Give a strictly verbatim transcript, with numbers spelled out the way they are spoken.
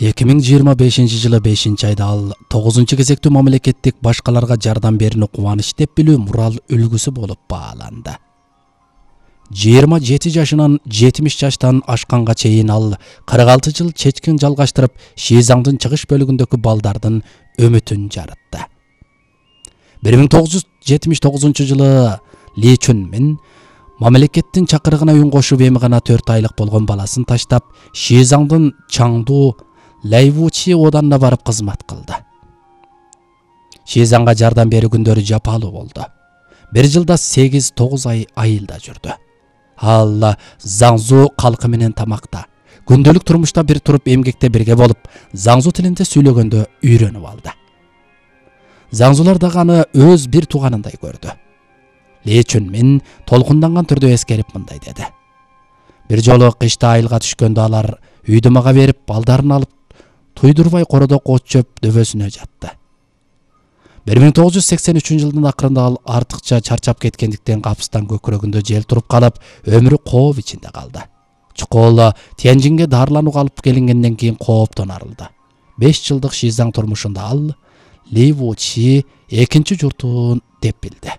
эки миң жыйырма бешинчи жылы бешинчи айда ал тогузунчу кезектүү мамлекеттик башкаларга жардам берүүнү кубаныч деп билүү мурал үлгүсү болуп бааланды. жыйырма жети жашынан жетимиш жаштан ашканга чейин ал кырк алты жыл чечкин жалгаштырып, Шизаңдын чыгыш бөлүгүндөгү балдардын үмүтүн жарытты. бир миң тогуз жүз жетимиш тогузунчу жылы Ли Чунмин мамлекеттин чакырыгына үн кошуп, эми гана төрт айлык болгон баласын таштап, Шизаңдын Чаңду Лайвучи оданына барып кызмат кылды. Шизаңга жардам берүү күндөрү жапалуу болду. Бир жылда сегиз тогуз ай айылда жүрдү. Ал Заңзу калкы менен тамакта, күндөлүк турмушта бир туруп эмгекте бирге болуп, Заңзу тилинде сүйлөгөндө үйрөнүп алды. Заңзулар дагы аны өз бир тууганындай көрдү. Ли Чунмин толкунданган түрдө эскерип мындай деди: бир жолу кышта айылга түшкөндө алар үйдү мага берип, балдарын алып туйдурбай кородок от чөп дөбөсүнө жатты. бир миң тогуз жүз сексен үчүнчү жылдын акырында ал артыкча чарчап кеткендиктен капыстан көкүрөгүндө жел туруп калып, өмүрү кооп ичинде калды. Чукол Тяньжинге дарыланууга алып келингенден кийин кооптон арылды. беш жылдык Шизаң турмушунда ал Лайвучи экинчи журтун деп билди.